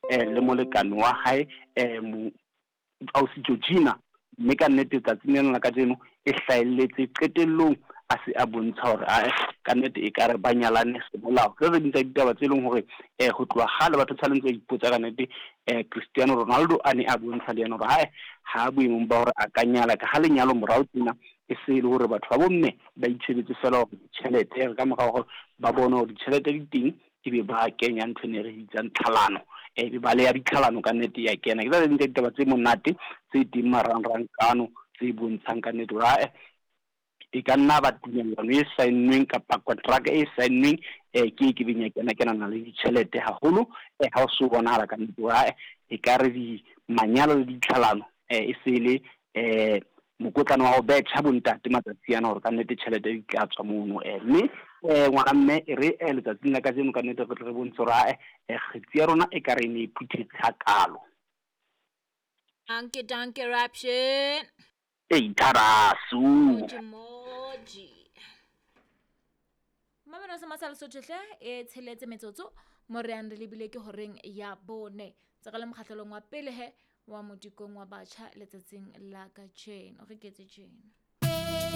Le molekane wa hae ausi Georgina, mme ka nnete tsatsing lena la kajeno e hlahelletse qetellong a se a bontsha hore ae ka nnete e kare ba nyalane semolao. Ke tse ding tsa ditaba tse leng hore ho tloha kgale batho tshwanetse ba ipotsa ka nnete. Cristiano Ronaldo a ne a bontsha le yena hore hae ha boemong ba hore a ka nyala, ka ha lenyalo morao tjena e se e le hore batho ba bomme ba itshebetse fela hore ditjhelete, ka mora hore ba bone hore ditjhelete di teng, ebe ba kenya ntho e ne re bitsang tlhalano, ebe ba leya ditlhalano ka nnete ya kena. Ke tsa ding tsa ditaba tse monate tse teng marangrang kano, tse bontshang ka nnete hore ae e ka nna ba tumellano e saennweng kapa kontraka e saennweng ke e kebeng ya kena kenana le ditjhelete haholo. Ha o so bonahala ka nnete hore ae e ka re di manyalo le ditlhalano e se le mokotlana wa ho betjha bontate matsatsi ana, hore ka nnete tjhelete di tla tswa mono. Mme ngwana mme e re letsatsing la kajeno ka nnete re tle re bontshe hore ae kgetsi ya rona e ka re e ne e phuthetse hakalo. Danke, danke, Raption. Ei tharasu. Moji, moji. Mamelo sa masala Sotho hle e tsheletse metsotso mo re yang re lebile ke horeng ya bone. Tsa le mokgahlelong wa pele he wa modikong wa batjha letsatsing la kajeno. Re ketse tjena.